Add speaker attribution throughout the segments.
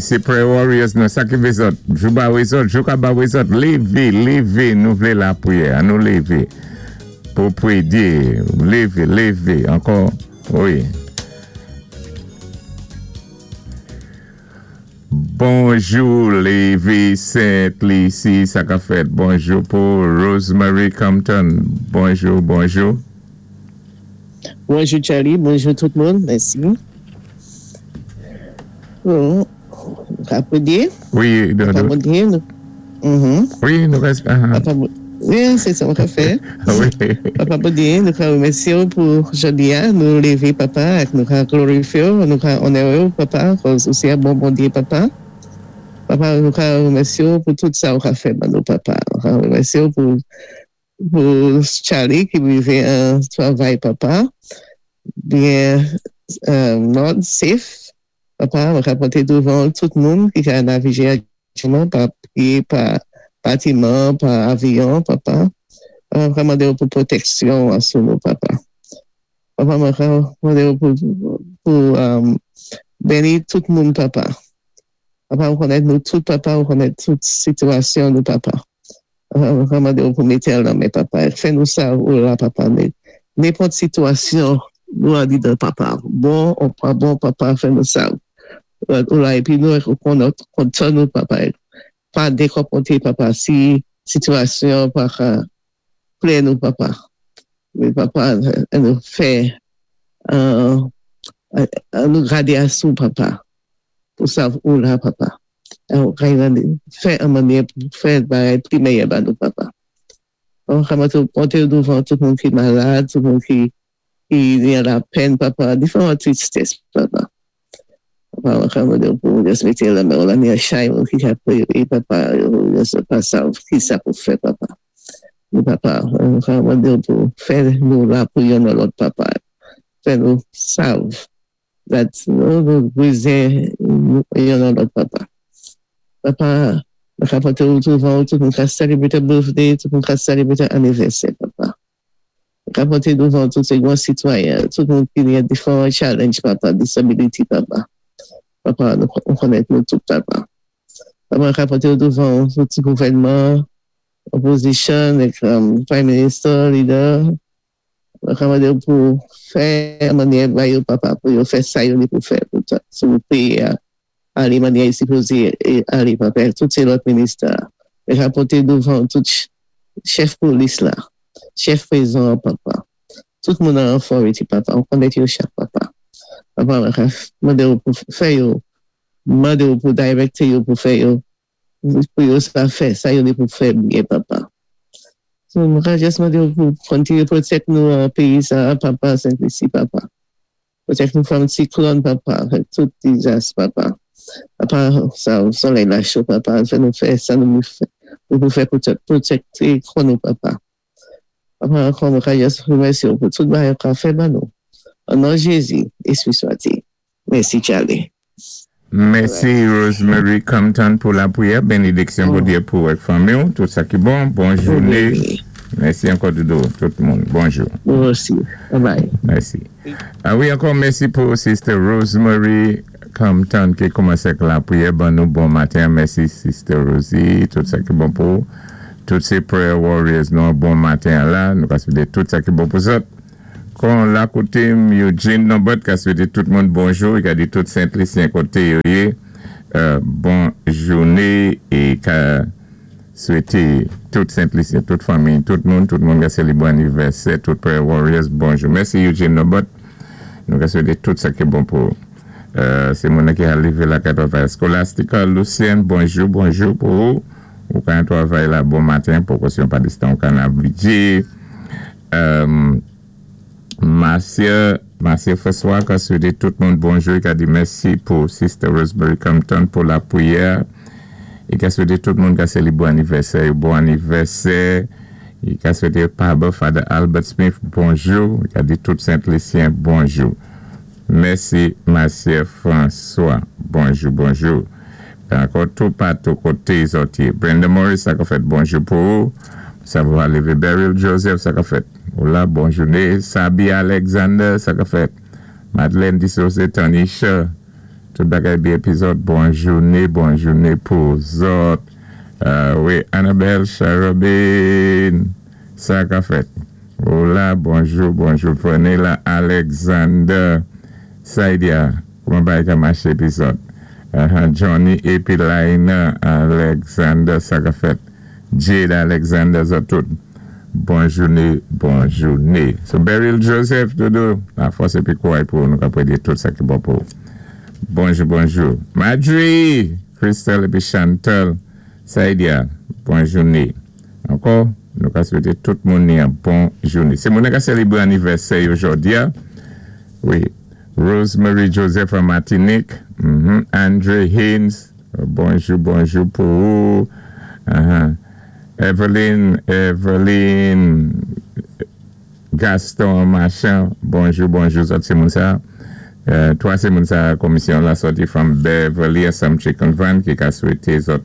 Speaker 1: Sé Prayer Warriors nou, sa ki vé zòt, jou ba wé zòt, jou ka ba wé zòt, lévé, lévé, nou vlé lapriyè, an nou lévé pou pwédé, lévé, lévé, ankò, wi. Bonjou Lévi Saint Lucie, sa ka fèt? Bonjou pou Rosemary Compton, bonjou, bonjou.
Speaker 2: Bonjou Charlie, bonjou tout moun, mèsi. Bon, ka pwédé?
Speaker 1: Wi,
Speaker 2: Papa Bondyé, nou.
Speaker 1: Wi, nou rès.
Speaker 2: Papa Wi, sé sa mwen ka fè.
Speaker 1: Wi.
Speaker 2: Papa Bondyé, nou ka wémèsyé ou pou jòdi-a, nou lévé, Papa, ak nou ka glorifyé ou, nou ka onoré ou, Papa, kòz ou sé yon bon Bondyé, Papa. Papa, nou ka wémèsyé ou pou tout sa ou ka fè ban nou, Papa. Nou ka wémèsyé ou pou Charlie ki rivé an twavay, Papa, byen nòd, safe, Papa. Mwen ka pwénté douvan tout moun ki ka navigé aktyèlman pa pyé, pa batiman, pa avyon, Papa. Papa, mwen ka mandé ou pou pwotèksyon sou nou, Papa. Papa, mwen ka mandé ou pou béni tout moun, Papa. Papa, ou konnèt nou tout, Papa, ou konnèt tout sitiyasyon nou, Papa. Papa, mwen ka mandé ou pou mété lanmen, Papa. Fè nou sa ou la, Papa. Nenpòt sitiyasyon nou andidan, Papa. Bon ou pa bon, Papa, fè nou sa ou la épi nou kontan nou, Papa. Pa dékonponté, Papa, si sitiyasyon pa ka plè nou, Papa. Wi, Papa, nou fè nou gadé asou, Papa. Pou sa ou la, Papa. Fè an mannyè pou fè bagay pi meyè ba nou, Papa. Pwénté douvan tout moun ki malad, tout moun ki gen lapèn, Papa, diferan tristès, Papa. Papa, mwen ka mandé pou jis mété lanmen ou la ni chay moun ki ka pwéyé, Papa, yo pa sav ki sa pou fè, Papa. Papa, mwen ka mandé pou fè nou la pou youn lòt, Papa. Fè nou sav that nou bézwen youn lòt, Papa. Papa, mwen ka pwénté ou douvan tout moun ka sélébwé birthday, tout moun ka sélébwé anivèsè, Papa. Mwen ka pwénté douvan tout sé gran sitwayen, tout moun ki gen diferan challenge, Papa, disability, Papa. Papa, nou konnèt nou tout, Papa. Papa, mwen ka pwénté douvan tout gouvènman, opposition, prime minister, leader, mwen ka mandé pou fè mannyè ba yo, Papa, pou yo fè sa yo ni pou fè pou sou péyi a alé mannyè yo sipozé alé, Papa, tout sé lòt minister. Mwen ka pwénté douvan tout chèf polis la, chèf prizon, Papa. Tout moun an authority, Papa. Ou konnèt yo chak, Papa. Papa, mwen ka mandé ou pou fè yo, mandé ou pou directé yo pou fè yo, pou yo sa fè, sa yo ni pou fè byen, Papa. So, mwen ka jis mandé ou pou kontinyé pwotèk nou an péyi sa, Papa, Saint-Lucie, Papa. Pwotèk nou from siklòn, Papa, tout dizas, Papa. Papa, sa solèy la cho, Papa, fè nou fè sa nou fè, nou pou fè pwotèkté kò nou, Papa. Papa, ankò mwen ka jis remèsyé ou pou tout bagay ou ka fè ban nou. An non Jézi, Éspwi swati. Mèsi, Charlie.
Speaker 1: Mèsi Rosemary Compton pou lapriyè, bénédiksyon Bondyé pou ak fanmi ou, tout sa ki bon. Bon jouné. Mèsi ankò doudou, tout moun. Bonjou.
Speaker 2: Mwen osi. Bye bye.
Speaker 1: Mèsi. A wi, ankò mèsi pou Sister Rosemary Compton ki koumansé ak lapriyè ban nou bon maten. Mèsi, Sister Rosie, tout sa ki bon pou tout sé prayer warriors nou bon maten la. Nou ka swété tout sa ki bon pou zòt. Kon la koté m Eugene Nobert ka swété tout moun bonjou, i ka di tout Sent-Lisyen koté yo yé bon jouné é ka swété tout Sent-Lisyen, tout fanmi, tout moun ka sélébré anivèsè, tout prayer warriors bonjou. Mèsi, Eugene Nobert. Nou ka swété tout sa ki bon pou sé moun ki a lévé la ka twavay. Scholastica Lucien, bonjou, bonjou pou ou. Ou ka twavay la bon maten, pou kòsyon pa distan ou ka navigé. Marcia, Marcia François ka swété tout moun bonjou, i ka di mèsi pou Sister Rosemary Compton pou lapriyè. I ka swété tout moun ka sélébré anivèsè, bon anivèsè. I ka swété Papa Father Albert Smith bonjou. I ka di tout Sent-Lisyen bonjou. Mèsi, Marcia François. Bonjou, bonjou. Ankò tout patou koté zòt. Brenda Morris, sa ka fèt, bonjou pou ou. Sa va lévé Beryl Joseph, sa ka fèt. Hola, bon jouné. Sabi Alexander, sa ka fèt. Madeleine Dissosé, Tanisha. Tout bagay byen pi zòt. Bon jouné, bon jouné pou zòt. Wi, Annabelle Charobin, sa ka fèt? Hola, bonjou, bonjou. Vanilla Alexander, Saidia, kouman bagay ka maché pi zòt? Johnny épi Laina Alexander, sa ka fèt? Jade Alexander, zòt tout. Bon jouné, bon jouné. So Beryl Joseph, Dodo, lafòs épi kouray pou nou ka pwédé tout sa ki bon pou. Bonjou, bonjou. Madri, Crystal épi Chantal, Saidia, bon jouné. Ankò, nou ka swété tout moun ni an bon jouné. Si moun ka sélébré anivèsè yo jòdi-a, wi, Rosemary Joseph an Matinik, Andre Haynes, bonjou, bonjou pou ou. Evelyn, Evelyn Gaston Machan, bonjou, bonjou, zòt sé moun sa. Twa sé moun sa komisyon la sòti from Beverly Assumption Convent ki ka swété zòt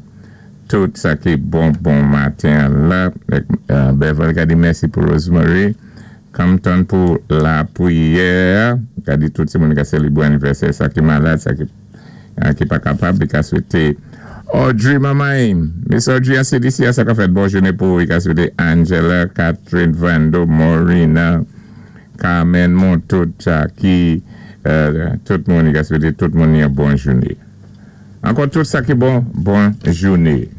Speaker 1: tout sa ki bon bon maten la. Beverly ka di mèsi pou Rosemary. Compton pou lapwiyè. Ka di tout sé moun ka sélébré anivèsè, sa ki malad, sa ki pa kapab, li ka swété Audrey Mamay, Miss Audrey an CDC a, sa ka fèt? Bon jouné pou ou. Li ka swété Angela, Catherine Vando, Morina, Carmen Montout, Jackie, tout moun, li ka swété tout moun yon bon jouné. Ankò tout sa ki bon, bon jouné.